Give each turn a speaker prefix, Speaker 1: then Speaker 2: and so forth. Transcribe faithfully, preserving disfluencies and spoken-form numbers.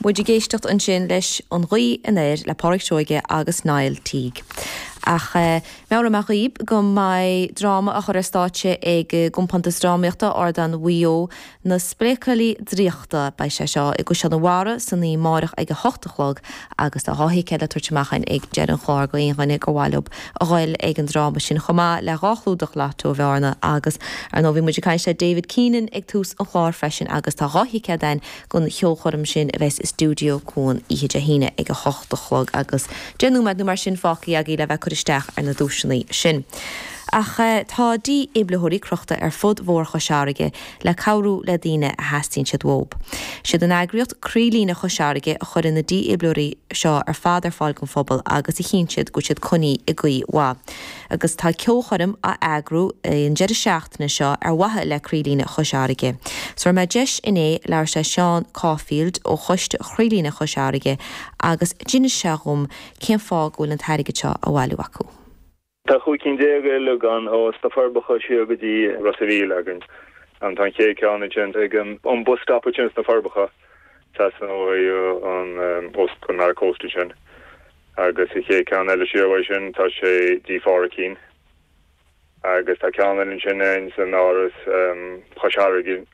Speaker 1: Muid ag éisteacht ansin leis an Ghaoth Anoir le Pádraic Seoige agus Niall Teague. Ach eh, mheabhraigh mé dhaoibh go mbeidh dráma á chur ar stáitse ag gCompántas Drámaíochta Ardán Mhaigh Eo na Spléacailí Draíochta beidh sé seo i gCaisleán an Bharraigh san oíche amárach ag a hocht a chlog agus tá dhá thicéad le tabhairt amach ag deireadh an chláir d'aon dhuine gur mhaith leo a ghoil ag an dráma sin chomh maith le dhá chlúdach lotto Bhearna agus ar ndóigh bhí muid ag caint le David Keenan ag tús an chláir freisin agus tá dhá thicéad againn don cheolchoirm sin a bheas i Stiúideo Cuan oíche Dé hAoine ag a hocht a chlog agus deich nóiméad nó mar sin fágtha agaibh le bheith ag cur isteach ar na duaiseanna sin. Ach eh, tá dífhibrileoirí crochta ar fud bhóthar Chois Fharraige le cabhrú le daoine a theastaíonn siad uathu. Siad an eagraíocht Croílíne Chois Fharraige a chuireann na dífhibrileoirí seo ar fad ar fáil don phobal agus a chinntíonn go bhfuil siad coinnithe i gcaoi mhaith. Agus tá ceolchoirm á eagrú an deireadh seachtaine seo ar mhaithe le Croílíne Chois Fharraige. So mé deis inné labhairt le Seán Caulfield ó choiste Chroílíne Chois Fharraige agus d'inis sé dhom cén fáth go bhfuil an t-airgead seo á bhailiú acu.
Speaker 2: Tá chúig cinn déag eile againn ó sna Forbacha siar go dtí Ros an Mhíl againn. An tá cé ceann sin ag an bus stop sin sna Forbacha an os an coast sin. agus an chéad cheann eile siar sin tá sé dí fácín. agus tá ceann sin san áras Chois Fharraige